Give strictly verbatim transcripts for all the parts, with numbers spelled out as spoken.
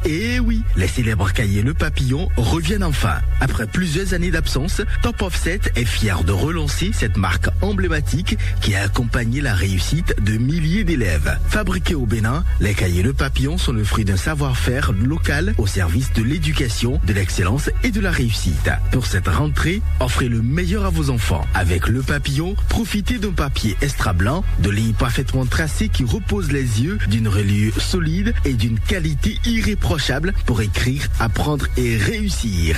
Eh oui, les célèbres cahiers Le Papillon reviennent enfin. Après plusieurs années d'absence, Top Offset est fier de relancer cette marque emblématique qui a accompagné la réussite de milliers d'élèves. Fabriqués au Bénin, les cahiers Le Papillon sont le fruit d'un savoir-faire local au service de l'éducation, de l'excellence et de la réussite. Pour cette rentrée, offrez le meilleur à vos enfants. Avec Le Papillon, profitez d'un papier extra blanc, de lignes parfaitement tracées qui reposent les yeux, d'une reliure solide et d'une qualité irréprochable pour écrire, apprendre et réussir.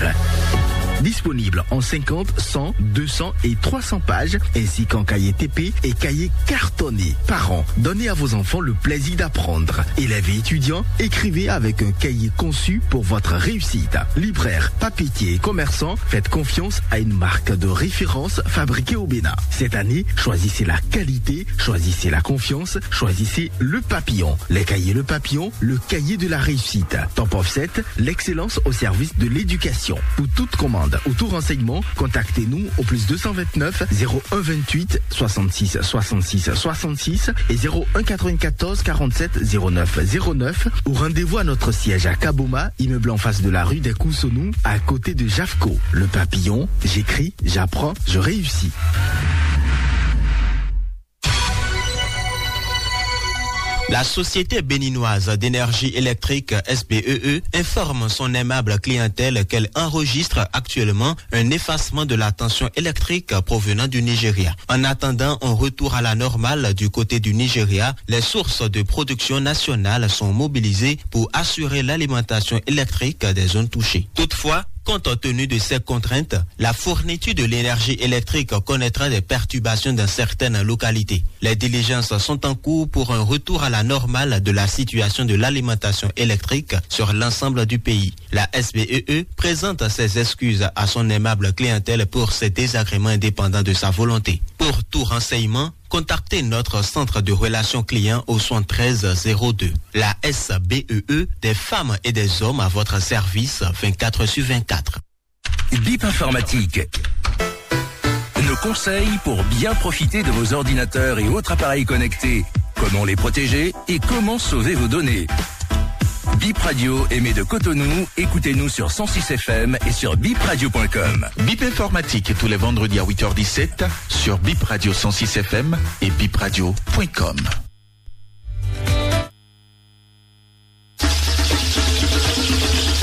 Disponible en cinquante, cent, deux cents et trois cents pages, ainsi qu'en cahier T P et cahier cartonné. Parents, donnez à vos enfants le plaisir d'apprendre. Élèves et étudiants, écrivez avec un cahier conçu pour votre réussite. Libraires, papetiers et commerçants, faites confiance à une marque de référence fabriquée au Bénin. Cette année, choisissez la qualité, choisissez la confiance, choisissez Le Papillon. Les cahiers Le Papillon, le cahier de la réussite. Top Offset, l'excellence au service de l'éducation. Pour toute commande ou tout renseignement, contactez-nous au plus deux cent vingt-neuf, zéro un vingt-huit, soixante-six, soixante-six, soixante-six et zéro un quatre-vingt-quatorze, quarante-sept, zéro neuf, zéro neuf, ou rendez-vous à notre siège à Kaboma, immeuble en face de la rue des Coussonou, à côté de Jafco. Le Papillon, j'écris, j'apprends, je réussis. La Société béninoise d'énergie électrique, S B E E, informe son aimable clientèle qu'elle enregistre actuellement un effacement de la tension électrique provenant du Nigeria. En attendant un retour à la normale du côté du Nigeria, les sources de production nationale sont mobilisées pour assurer l'alimentation électrique des zones touchées. Toutefois, compte tenu de ces contraintes, la fourniture de l'énergie électrique connaîtra des perturbations dans certaines localités. Les diligences sont en cours pour un retour à la normale de la situation de l'alimentation électrique sur l'ensemble du pays. La S B E E présente ses excuses à son aimable clientèle pour ces désagréments indépendants de sa volonté. Pour tout renseignement, contactez notre centre de relations clients au soixante-treize zéro deux. La S B E E, des femmes et des hommes à votre service vingt-quatre sur vingt-quatre. Bip Informatique. Nos conseils pour bien profiter de vos ordinateurs et autres appareils connectés. Comment les protéger et comment sauver vos données ? Bip Radio émet de Cotonou. Écoutez-nous sur cent six F M et sur bip radio point com. Bip Informatique tous les vendredis à huit heures dix-sept sur Bip Radio cent six F M et bip radio point com.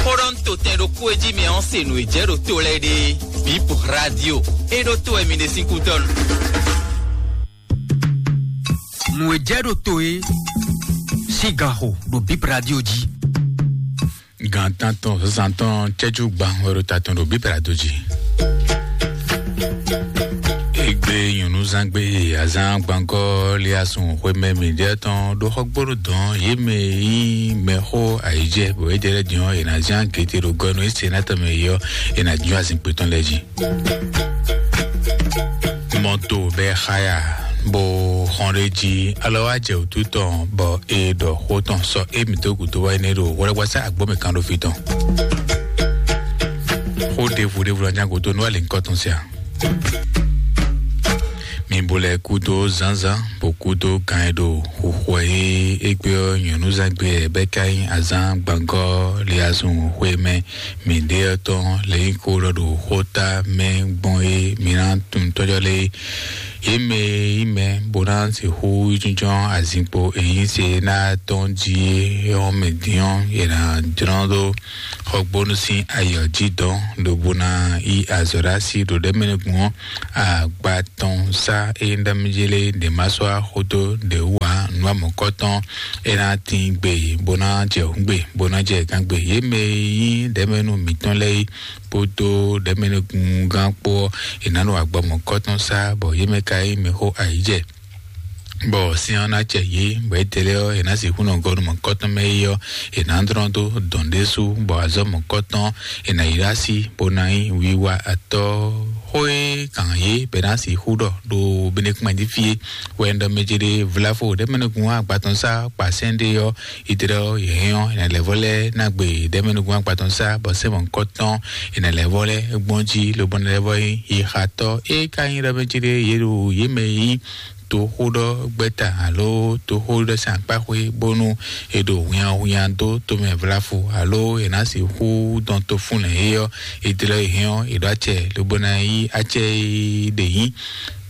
Xó ɖɔ nú totɛn ɖokpó e jí mɛ ɔ́ se nǔ e jɛ ɖo to lɛ́ɛ ɖe. Bip Radio, é ɖó to wɛ mi ɖe sín kútɔ́ nu. Nǔ e jɛ ɖo to é sín ganxo ɖo Bip Radio jí. Gan tántɔn zǎn tɔn cɛ́jú gban wɛ ɖo ta tɔn ɖo Bip Radio jí. Egbe nyɔ̌núzán gbe azán gbangɔ liasun xwemɛ mǐɖiɛ tɔn ɖo xɔgbónu dɔn yě mɛ e nyí mɛxó ayǐjɛ bɔ é jɛ lɛ́ din ɔ́, è nǎ zán gěte ɖo gɔ́ nú é se ná tɔn mɛ yi ɔ́, è nǎ jɔ́n azinkpo tɔn lɛ́ɛ jí. Mɔto bɛ xaya bo xɔn ɖe jí alɔ wa jɛ wǔtu tɔn bɔ e ɖɔ xó tɔn sɔ e mi dó gǔdo wá ne ɖo wɛlɛgbasa agbɔmɛ kan ɖo fi tɔn. Xó ɖevu ɖevu la nya gǔdo nú ali ŋkɔ tɔn sia. Mi bo lɛ kúdó zánzán bo kúdó gan e ɖo xuxu e égbé ɔ́ nyɔ̌núzán gbé ɛ bɛ ka nyí azán gbangɔ liazun xwé mɛ. Mi ɖe ɔ́ tɔn lě nyí xó ɖɔ ɖo xóta mɛ gbɔn é mi ná tunwun tɔ́jɔ́ lé. Yě mɛ e nyí mɛ bó ná sixú jínjɔ́n azinkpo e nyí se ná tɔn jí é ɔ́ mɛ dín ɔ́, è nǎ jlɔ́n ɖó xɔgbónu sín ayǐ ɔ́ jí dɔn, lobo ná yí azɔ̌ ɖó así ɖo ɖɛ̌ mɛ nukún ɔ́, agba tɔn sá é nyí ɖ'amɛjé lé ɖě má sɔ́ axótó ɖě wú ǎ. Nǔ amɔ̌kɔ́tɔn é ná tín gbe bó ná jɛ hǔngbe bó ná jɛ gángbe. Yě mɛ e nyí ɖɛ̌mɛnu mǐtɔn lɛ́ɛ é kpódó ɖɛ̌mɛnukúngán kpó ɔ́, è nǎ nɔ agbɔmɔkɔ́tɔn sá, bɔ yě mɛ ka nyí mɛxó ayǐjɛ. Bɔ sin ɔ́ ná jɛ yě, bɔ étɛ́ lɛ́ɛ ɔ́, è nǎ sixú nɔ gɔ́ nú mɔ̌kɔ́tɔn mɛ é ɔ́, è nǎ dlɔ́n dó dɔn ɖésú, bɔ azɔ̌ mɔ̌kɔ́tɔn è nǎ yi ɖó así, bó ná nyí wiwa atɔ́. Xó e gǎn yě bɛ ná sixú ɖɔ ɖo Benɛkúmɛ jí fí é wɛ un ɖɔ mɛ ce ɖé vlavo ɖɛ̌mɛnukún agbatɔn sá kpa sɛ́n ɖé ɔ́, Idrɛ ɔ́, yě hɛn ɔ́, è nǎ lɛ́ vɔ lɛ́ ná gbe ɖɛ̌mɛnukún agbatɔn sá, bɔ sɛ́n mɔ̌kɔ́tɔn è nǎ lɛ́ vɔ lɛ́ gbɔn jí, lobo ná lɛ́ vɔ nyí yixatɔ́. É ka nyí ɖɔ mɛ ce ɖé yě ɖo yě mɛ e nyí toxóɖɔgbɛ́ta alo toxóɖɔsɛn akpáxwé bónú è ɖo hwinnyahwinnya dó tomɛ vlafu alo è nǎ sixú dɔn tofúnlɛ̌n é ɔ́, è dlɔ́ è hɛn ɔ́, è ɖó acɛ lobo ná yí acɛ e ɖe nyí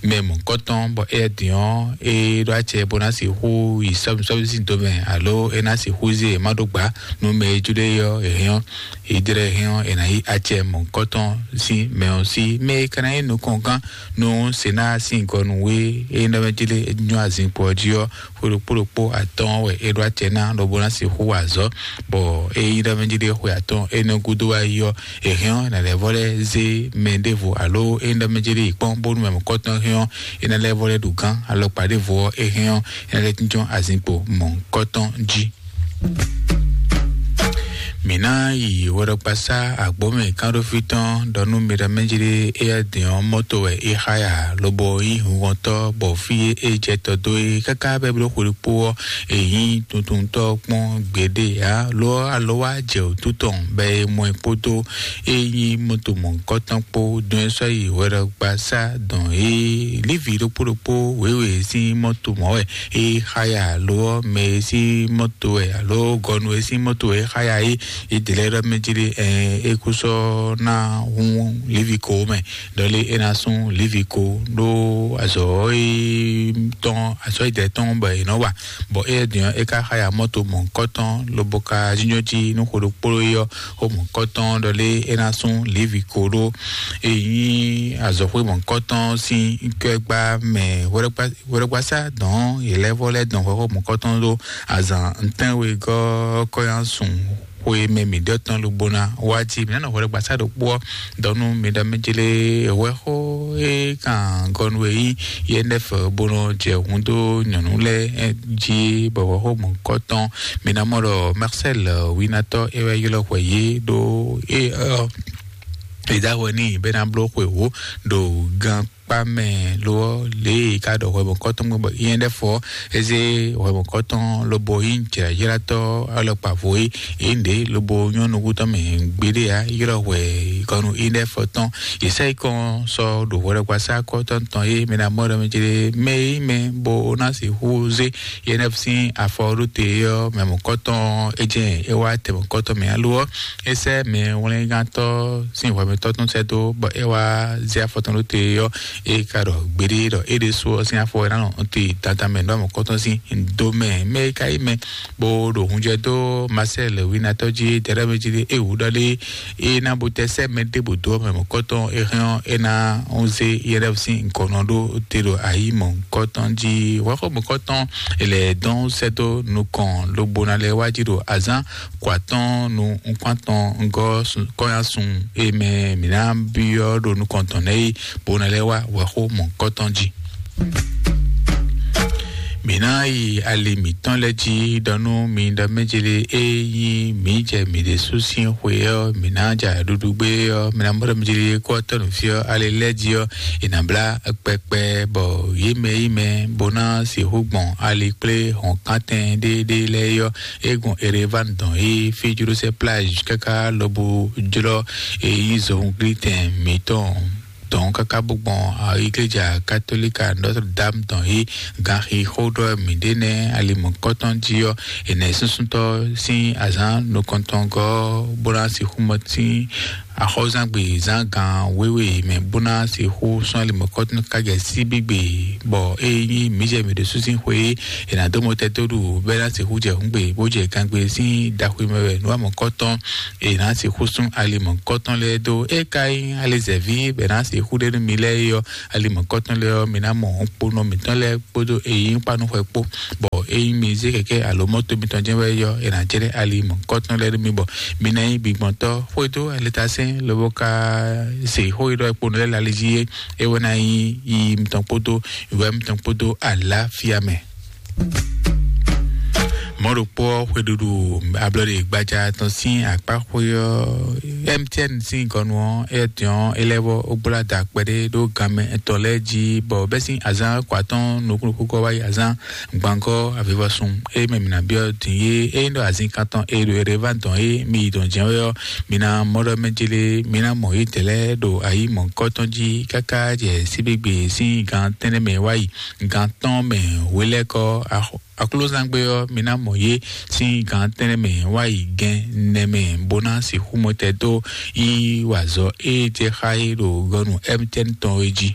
mɛ mɔ̌kɔtɔn, bɔ éyɛ́ din ɔ́, é ɖó acɛ bó ná sixú yi sɔ́misɔ́mi sín domɛ alo é ná sixú zé e má ɖó gbǎ nú mɛ e jló é ɔ́, è hɛn ɔ́, è dlɔ́ è hɛn ɔ́, è nǎ yí acɛ mɔ̌kɔtɔn sín mɛ ɔ́ sí. Mɛ e ka ná nyí nukɔngán nú Senáa sín gɔnu e é nɔ mɛ jlé é nyɔ́ azinkpo ɔ́ jí ɔ́, xwe ɖokpó ɖokpó atɔ́ɔ́n wɛ é ɖó acɛ ná lobo ná sixú wa azɔ̌, bɔ é nyí ɖɔ mɛ jí ɖé xwe atɔ́ɔ́n énɛ́ gúdo wá yi ɔ́, è hɛn ɔ́, è nǎ lɛ́ vɔ lɛ́ zé mɛ ɖěvo alo é nyí ɖɔ mɛ jí ɖé yi kpɔ́n bónú mɛ mɔ̌kɔtɔn hɛn ɔ́, é ná lɛ́ vɔ lɛ́ ɖu gán alɔkpa ɖěvo ɔ́, é hɛn ɔ́, é ná lɛ́ jínjɔ́n azinkpo mɔ̌kɔtɔn jí. Mǐ ná yi hwɛɖɔkpasá agbǒmɛ kánɖófí tɔn ɖɔ nú mi ɖɔ mɛ jí ɖé éyɛ́ din ɔ́, mɔ́to wɛ é xá ya lobo nyí hunhɔntɔ́, bɔ fí e é jɛ tɔ dó é káká bɛ́ bló xwedó kpó ɔ́, è nyí tuntuntɔ́ kpɔ́n gbeɖé ǎ. Lo ɔ́, alɔ wá jɛ wǔtu tɔn bɔ è mɔ ɛ kpódó é nyí mɔto mɔ̌hunkɔtɔn kpó dɔn ɛ sɔ́ yi hwɛɖɔgbasá dɔn é. Lívi ɖokpó ɖokpó wěwe sín mɔto mɔ̌ wɛ é xá ya, lo ɔ́, mɛ e sín mɔto wɛ alo gɔnu e sín mɔto wɛ é xá ya é, é dlɛ́ ɖɔ mɛ jí ɖé, ɛ, é kú sɔ́ ná hún Levi ko mɛ, ɖɔ lé é ná sún Levi ko ɖó azɔ̌ e tɔn azɔ̌ e dɛ̌ tɔn bɔ è nɔ wa, bɔ éyɛ́ din ɔ́, é ka xá ya mɔto mɔ̌hunkɔtɔn lobo ka jínjɔ́n jí nú xwe ɖokpó é ɔ́, xó mɔ̌hunkɔtɔn ɖɔ lé é ná sún Levi ko ɖó. É nyí azɔ̌xwé mɔ̌hunkɔtɔn sín kɛ́gbá mɛ hwɛɖɔgbasá dɔn yě lɛ́ vɔ lɛ́ dɔn xɔ xó mɔ̌hunkɔtɔn ɖó azǎn ntɛ́nwegɔ́ kɔ́yánsun xwe mɛ mǐ ɖɔ tɔn lobona wá jí. Mǐ ná nɔ hwɛɖɔgbasá ɖokpó ɔ́ dɔ nú mi ɖɔ mɛ jlé hwɛxó e kan gɔnu e yí yɛnɛfɛ bó nɔ jɛ hun dó nyɔ̌nu lɛ́ɛ jí bɔ hwɛxó mɔ̌hunkɔtɔn. Mi ná mɔ ɖɔ Marcel winatɔ é wɛ ylɔ́ hwɛ yě ɖó é ɔ́ è dá hwɛ n'i bɔ é ná bló xwe wǒ ɖo gan kpa mɛ lo ɔ́, lě e ka ɖɔ hwɛmɔkɔtɔn gbɔn bɔ nyɛ ɖɛfɔ eze hwɛmɔkɔtɔn lobo nyí jlǎjlátɔ́ alɔkpa vo é, é ɖě lobo nyɔ́ nukúntɔn mɛ gbeɖé ǎ, ylɔ́ hwɛ kɔnu nyɛ ɖɛfɔ tɔn. Yě sɛ yi kɔn sɔ ɖo hwɛɖɔgbasá kɔtɔn tɔn é mɛ ná mɔ ɖɔ mɛ jlé mɛ é mɛ bó ná sixú zé yɛ nɛ́ sín afɔ ɖó te ɔ́, mɛ mɔ̌kɔtɔn é jɛ é wá tɛ mɔ̌kɔtɔn mɛ alo ɔ́, é sɛ́ mɛ wlɛ́ngántɔ́ sín hwɛmɛtɔ́ tɔn sɛ́ dó bɔ é wá zé afɔ tɔn ɖó te ɔ́, é ka ɖɔ gbeɖé ɖɔ é ɖésú ɔ́ sín afɔ é ná nɔ te dandan mɛ ɖó mɔ̌kɔtɔn sín do mɛ. Mɛ é ka yí mɛ bó ɖo hunjɛ dó Marcel winatɔ́ jí dɛɖɛ́ mɛ jí é wǔ ɖɔ lé é ná bo tɛ sɛ́ mɛ ɖěbǔ dó mɛ mɔ̌kɔtɔn é hɛn ɔ́, é ná zé yɛɖɛ́ sín gɔ̌nɔ ɖó te ɖo ayǐ mɔ̌kɔtɔn jí. Hwɛxó mɔ̌kɔtɔn è lɛ dɔn sɛ́ dó nukɔn lobo ná lɛ́ wá jí ɖo azán kɔ atɔ́ɔ́n nu nukún atɔn gɔ́ kɔ́nyásun e mɛ mǐ ná byɔ́ ɖo nukɔn tɔn nɛ́ é, bó ná lɛ́ wá hwɛxó mɔ̌kɔtɔn jí. Mǐ ná yi ali mǐtɔn lɛ́ɛ jí ɖɔ nú mi ɖɔ mɛjlé e nyí mǐ jɛ mǐ ɖésú sín xwe ɔ́, mǐ ná ja ɖuɖu gbé ɔ́, mǐ ná mɔ ɖɔ mɛjlé kó ɔ́ tɔ́ nǔ fí ɔ́, ali lɛ́ɛ jí ɔ́, è nǎ blá kpɛkpɛ bɔ yě mɛ yí mɛ bó ná sixú gbɔn ali kplé hɔ̌nkántɛn ɖéɖé lɛ́ɛ é ɔ́, é gbɔn Erevan dɔn é fí jló sɛ́ plage káká lobo jlɔ́ é nyí zohunglítɛn mǐtɔn dɔn káká bó gbɔn igleja katolika Notre Dame dɔn é ganxixóɖɔ mǐɖé nɛ́ ali mɔ̌kɔtɔn jí ɔ́, è nɛ súnsúntɔ́ sín azǎn nukɔntɔngɔ́ bó ná sixú mɔ sín axɔ́zangbe zán gan wěwe mɛ bó ná sixú sɔ́n ali mɔ̌kɔtɔn ká jɛ síbígbe, bɔ é nyí mǐ jɛ mǐ ɖésú sín xwe é, è nǎ dó mɔtɛn dó ɖu bɔ é ná sixú jɛ hǔngbe bó jɛ gangbe sín daxwe mɛ wɛ nǔ wa mɔ̌kɔtɔn è nǎ sixú sún ali mɔ̌kɔtɔn lɛ́ɛ dó. É ka nyí alizɛ̌ví bɔ è nǎ sixú ɖe nú mi lɛ́ɛ é ɔ́, ali mɔ̌kɔtɔn lɛ́ɛ ɔ́, mi ná mɔ kponɔ mǐtɔn lɛ́ɛ kpódó eyín kpanúxwɛ kpó, bɔ ényí mi zé kɛkɛ́ alo mɔ́to mitɔn jɛ́n wɛ é ɔ́, è nǎ jlɛ́ ali mɔ̌kɔtɔn lɛ́ɛ nú mi, bɔ mi ná nyí gbigbɔntɔ́ xwedó alitasɛ́n lobo ka se xó e ɖɔ kponɔ lɛ́ɛ lali jí é, é wɛ ná nyí yiyi mitɔn kpódó wɛ mitɔn kpódó aláfíà mɛ. Mɔ̌ ɖokpó ɔ́, xweɖuɖu ablɔɖe gbaja tɔn sín akpá xwe ɔ́, M T N sín gɔnu ɔ́, é dɔn é lɛ́ vɔ ó gbla da kpɛɖé ɖó ganmɛ etɔn lɛ́ɛ jí, bɔ bɛ́ sín azán kɔ atɔ́ɔ́n nukúnnukúnkɔ wá yi azán gbangɔ́ avivɔsun. É mɛ mǐ ná byɔ́ din é, é nyí ɖɔ azin kan tɔn e ɖo Ereván dɔn é, mi yi dɔn jɛ́n wɛ ɔ́, mi ná mɔ ɖɔ mɛ jélé, mi ná mɔ yědɛɛ lɛ́ɛ ɖo ayǐ mɔ̌hunkɔtɔn jí káká jɛ síbígbe sín gan tɛ́nnɛ mɛ wá yi gan tɔn mɛ hwelɛ́kɔ. Aklúzán gbe ɔ́, mi ná mɔ yě sín gan tɛ́nnɛ mɛ wá yi gɛn nɛ mɛ, bó ná sixú mɔtɛn dó yi wa azɔ̌ e jɛ xá é ɖo gɔnu M T N tɔn é jí.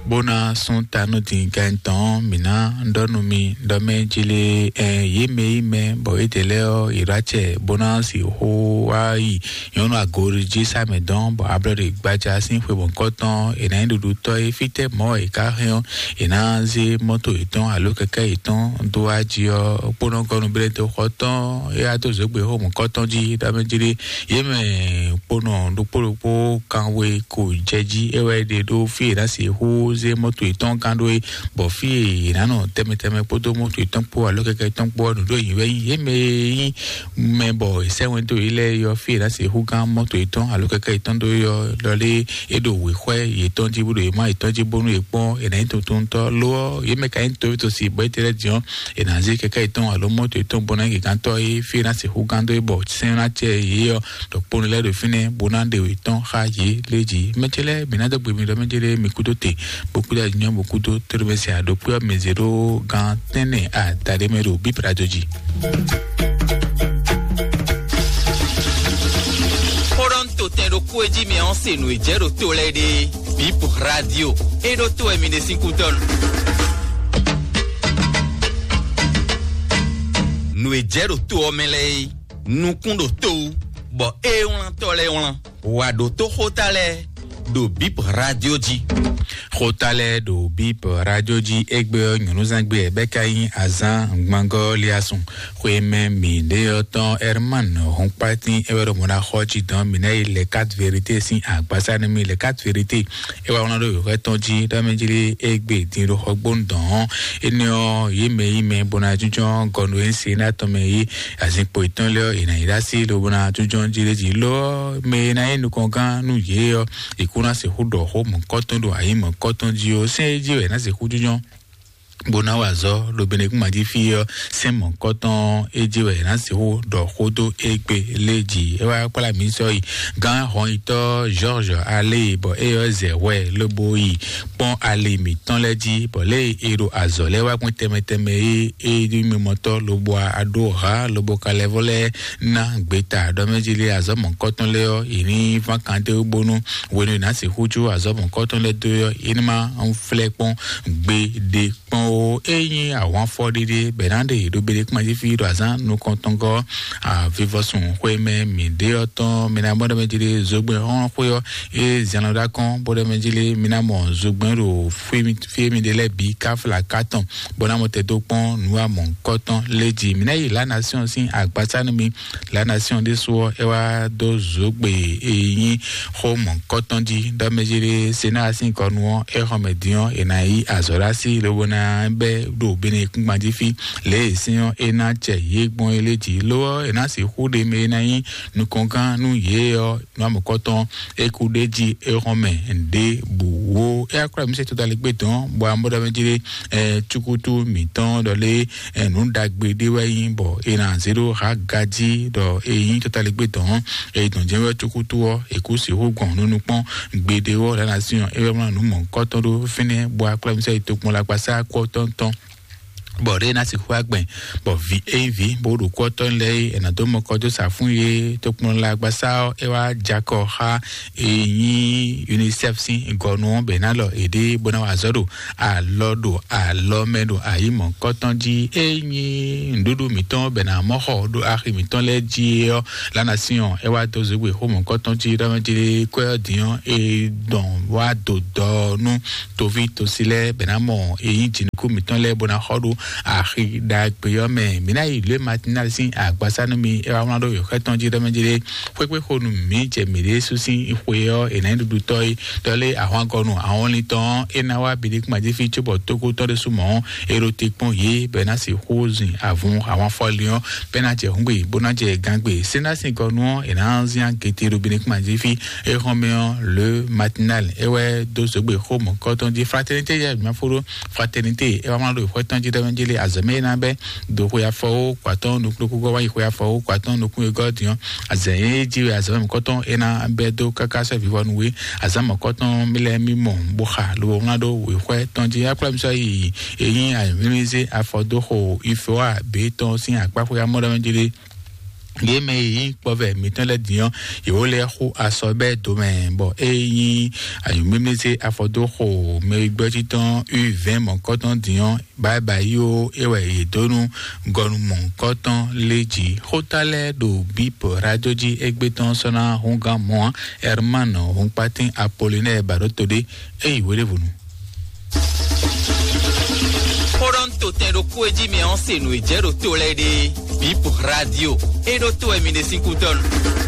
Bó ná sún ta nú din gɛn tɔn, mǐ ná ɖɔ nú mi ɖɔ mɛ jí lé, ɛ, yě mɛ yí mɛ bɔ yědɛɛ lɛ́ɛ ɔ́, yě ɖó acɛ bó ná sixú wá yi nyɔ̌nu agori jí sá mɛ dɔn, bɔ ablɔɖe gbaja sín xwe mɔ̌kɔtɔn è nǎ nyí ɖuɖutɔ́ é. Fítɛ́ mɔ̌ è ká hɛn ɔ́, è nǎ zé mɔ́to yětɔn alo kɛkɛ́ yětɔn dó wá jí ɔ́, kpónɔ gɔ́ nǔblédoxɔ tɔn é wá dó zǒgbe xó mɔ̌kɔtɔn jí ɖɔ mɛ jí ɖé. Yě mɛ kpónɔ ɖokpó ɖokpó kanwe ko jɛ jí é wɛ è ɖe ɖó fí è nǎ sixú zé mɔ́to yětɔn gán ɖó é, bɔ fí è nǎ nɔ tɛnmɛ tɛnmɛ kpódó mɔ́to yětɔn kpó alo kɛkɛ́ yětɔn kpó ɔ́, nǔ ɖó yǐ wɛ nyí. Yě mɛ e nyí mɛ bɔ è sɛ́ wɛn dó yě lɛ́ɛ é ɔ́, fí è nǎ sixú gán mɔ́to yětɔn alo kɛkɛ́ yětɔn dó é ɔ́, lɔ lé é ɖo wěxwɛ́ yětɔn jí bó ɖo yě mɔ yětɔn jí bónú yě kpɔ́n è nǎ nyí tuntun tɔ́ lo ɔ́, yě mɛ ka nyí tovítɔ́ si bɔ é tɛ́ lɛ́ din ɔ́, è nǎ zé kɛkɛ́ yětɔn alo mɔ́to yětɔn bó ná yi gěgántɔ́ é, fí è nǎ sixú gán dó é bɔ sɛ́n ná cɛ yě ɔ́, ɖɔ kpónɔ lɛ́ɛ ɖo fínɛ́ bó ná ɖe yětɔn xá yě lé jí. Mɛ ce lɛ́ɛ, mǐ ná dó gbe mi ɖɔ mɛ ce lɛ́ɛ mi kúdó te, bó kúdó anyɔ bó kúdó tóɖó mɛ se aɖokpé ɔ́ mɛ zě ɖó gán tɛ́nnɛ adaɖé mɛ ɖo bíbra dó jí. Xó ɖɔ ń to tɛn ɖokpó e jí mi ɔ́ se nǔ e jɛ ɖo to lɛ́ɛ ɖe. Bip Radio. E ɖo to wɛ mi ɖe sín kútɔ́ nu. Nǔ e jɛ ɖo to ɔ́ mɛ lɛ́ɛ é, nukún ɖo to wú, bɔ é wlán tɔ́ lɛ́ɛ wlán. Wǎ ɖótó xóta lɛ́ɛ ɖo Bip Radio jí. Xóta lɛ́ɛ ɖo Bip Radio jí égbé ɔ́, nyɔ̌núzán gbé ɛ bɛ́ ka nyí azán gbangɔ́ liasun. Xwémɛ mǐɖé ɔ́ tɔn Herman Hɔnkpatín é wɛ ɖo mɔ̌ ná xɔ jí dɔn mǐ ná yi Les Quatre Vérités sín agbásá nú mì. Les Quatre Vérités é wá wlán ɖó wěxwɛ́ tɔn jí ɖɔ mɛ jí lé égbé din ɖo xɔgbónu dɔn ɔ́. Énɛ́ ɔ́, yě mɛ yí mɛ bó ná jínjɔ́n gɔnu e se ná tɔn mɛ yí azinkpo yětɔn lɛ́ɛ ɔ́, è nǎ yi ɖó así lobo ná jínjɔ́n jí lé jí ló ɔ́, mɛ e ná nyí nukɔngán nú yě ɔ́, è kú ná sixú ɖɔ xó mɔ̌kɔtɔn ɖo ayǐ mɔ̌kɔtɔn jí ó. Sɛ́n é jí wɛ è nǎ sixú jínjɔ́n bó ná wa azɔ̌ ɖo Benɛkúma jí fí ɔ́, sɛ́n mɔ̌kɔtɔn é jí wɛ è nǎ sixú ɖɔ xó dó égbé lé jí. É wá kplá mǐ sɔ́ yi gán hɔnyitɔ́ George Alé, bɔ é ɔ́ zɛ hwɛ lobo yi kpɔ́n ali mǐtɔn lɛ́ɛ jí, bɔ lě e è ɖo azɔ̌ lɛ́ɛ wá gbɔn tɛnmɛ tɛnmɛ é, é ɖi mimɔtɔ́ lobo a ɖó hǎ lobo ka lɛ́ vɔ lɛ́ɛ ná gbeta ɖɔ mɛ jí lé azɔ̌ mɔ̌kɔtɔn lɛ́ɛ ɔ́, è ní ván kan dó bónú hwenu è nǎ sixú jó azɔ̌ mɔ̌kɔtɔn lɛ́ɛ dó ɔ́, é ní má flɛ́ kpɔ́n gbeɖé kpɔ́n ó. É nyí ahwanfɔ ɖéɖé bɛ̌ ná ɖe ɖo Benɛkúma jí fí ɖo azǎn nukɔntɔngɔ́ avivɔsun xwé mɛ mǐ ɖe ɔ́ tɔn, mi ná mɔ ɖɔ mɛ jí lé zogbɛ́n xɔ́n xwé ɔ́, é zɛn lɔ ɖó akɔ́n bó ɖɔ mɛ jí lé mi ná mɔ zogbɛ́n ɖo fí e mi ɖe lɛ́ɛ bǐ káfla katɔn bó ná mɔ tɛ dó kpɔ́n nǔ wa mɔ̌hunkɔtɔn lé jí. Mi ná yi La Nation sín agbasá nú mi. La Nation ɖésú ɔ́, é wá dó zǒgbe e nyí xó mɔ̌hunkɔtɔn jí ɖɔ mɛ jí lé Senáa sín kɔnu ɔ́, é xɔ mɛ din ɔ́, è nǎ yí azɔ̌ ɖó así lobo ná bɛ́ ɖo Benɛkúngban jí fí. Lě e sín ɔ́, é ná jɛ yě gbɔn é lé jí, lo ɔ́, è nǎ sixú ɖe mɛ e ná nyí nukɔngán nú yě ɔ́, nú amɔ̌kɔtɔn é kú ɖ'é jí é xɔ́n mɛ ɖěbǔ ó. É wá kplá mǐ se todalígbé dɔn, bɔ amɔ̌ɖɔmɛ jí ɖé, ɛ, cúkútú mǐtɔn ɖɔ lé, ɛ, nǔ ɖagbe ɖé wɛ nyí, bɔ è nǎ zé ɖó Haga jí ɖɔ é nyí todalígbé dɔn, é dɔn jɛ́n wɛ cúkútú ɔ́, è kú sixú gbɔn nú nukpɔ́n gbeɖé ɔ́, ɖǎ ná sí ɔ́, é wɛ mlɔ́ nǔ mɔ̌kɔtɔn ɖó fínɛ́, bɔ a kplá mǐ sɔ́ yi tokpɔn lɛ akpasá kú ɔ́ tɔn tɔn. Bɔ ɖě ná sixú wá gbɛn, bɔ vǐ ényí vǐ bó ɖo kú ɔ́ tɔn lɛ́ɛ é, è nǎ dó mɔ kɔ dó sa fún yě tokplɔn lɛ agbasá ɔ́, é wá jakɔ xá e nyí UNICEF sín gɔnu ɔ́ bɛ ná lɔ èɖée bó ná wa azɔ̌ ɖo alɔ ɖo alɔ mɛ ɖo ayǐ mɔ̌kɔtɔn jí. E nyí nǔɖuɖu mǐtɔn bɛ ná mɔ xɔ ɖo axi mǐtɔn lɛ́ɛ jí ɔ́, lánàá sí ɔn, é wá dó zǒgbé xó mɔ̌kɔtɔn jí ɖɔ mɛ jí kwɛ ɔ́ dín ɔ́, é dɔn wá dó dɔ nú toví tosi lɛ́ɛ bɛ ná mɔ e nyí jǐnukú mǐtɔn lɛ́ɛ bó ná xɔ ɖó Axi ɖagbe ɔ́ mɛ, mǐ ná yi lě matinali sín agbasá nú mi. É wá wlán ɖó yǒxɛ tɔn jí ɖɔmɛ jí ɖé. Xwéxwé xo nú mǐ jɛ mǐ ɖésú sín xwe ɔ́, è nǎ nyí ɖuɖutɔ́ é. Ɖɔ lé ahwangɔnu ahɔnlin tɔn ɔ́, é ná wá biɖíkúmajífí cóbɔ tókú tɔn ɖésú mɔ̌ ɔ́, é ɖo te kpɔ́n yě bɔ é ná sixú zin avun ahwanfɔlin ɔ́, bɔ é ná jɛ hǔngbe bó ná jɛ gangbe. Sénásingɔnu ɔ́, è nǎ zín agete ɖo biɖíkúmajífí. É xɔ́n mɛ ɔ́, le matinal é wɛ dó zǒgbe xó mɔ̌kɔtɔn jí. Fraternité yɛ mǐ fó ɖó. Fraternité é wá wlán ɖo xwɛ tɔn jí ɖɔmɛ jí lé azɔ̌ mɛ é ná bɛ́ do xwe afɔwó kwatɔn nukúnukúngɔ́ wá yi xwe afɔwó kwatɔn nukún e gɔ́ din ɔ́. Azɛ̌ é jí wɛ azɔ̌ mɛ mɔ̌kɔtɔn é ná bɛ́ dó káká sɔ́ vivɔnu wé. Azǎn mɔ̌kɔtɔn mí lɛ́ɛ mí mɔ bó xa lobo wlán ɖó wěxwɛ tɔn jí. Akplá mi sɔ́ yi eyín ayǐmlímlízé afɔdóxo ifewa bětɔn sín akpáxwé amɔ́ɖɔmɛ jí lé. Yě mɛ e nyí kpɔvɛ mǐtɔn lɛ́ɛ din ɔ́, yě wó lɛ́ xú asɔ bɛ́ do mɛ, bɔ é nyí anyǔmímízé afɔdóxo mɛ e gbɛ́ títɔn u vɛ̌ɛn mɔ̌kɔtɔn din ɔ́, bǎyibǎyi ó, é wɛ yě dó nú gɔnu mɔ̌kɔtɔn lé jí. Xóta lɛ́ɛ ɖo bíp radio jí égbé tɔn sɔ́ ná húngán mɔ̌ ǎ. Herman Húnkpatín Apolinɛ́ɛ Baɖótodé, é yi hweɖěvɔnu. Xó ɖɔ un to tɛn ɖokpó e jí mi ɔ́ se nǔ e jɛ ɖo to lɛ́ɛ ɖe. Bíp radio, é ɖó to wɛ mi ɖe sín kútɔ́nu.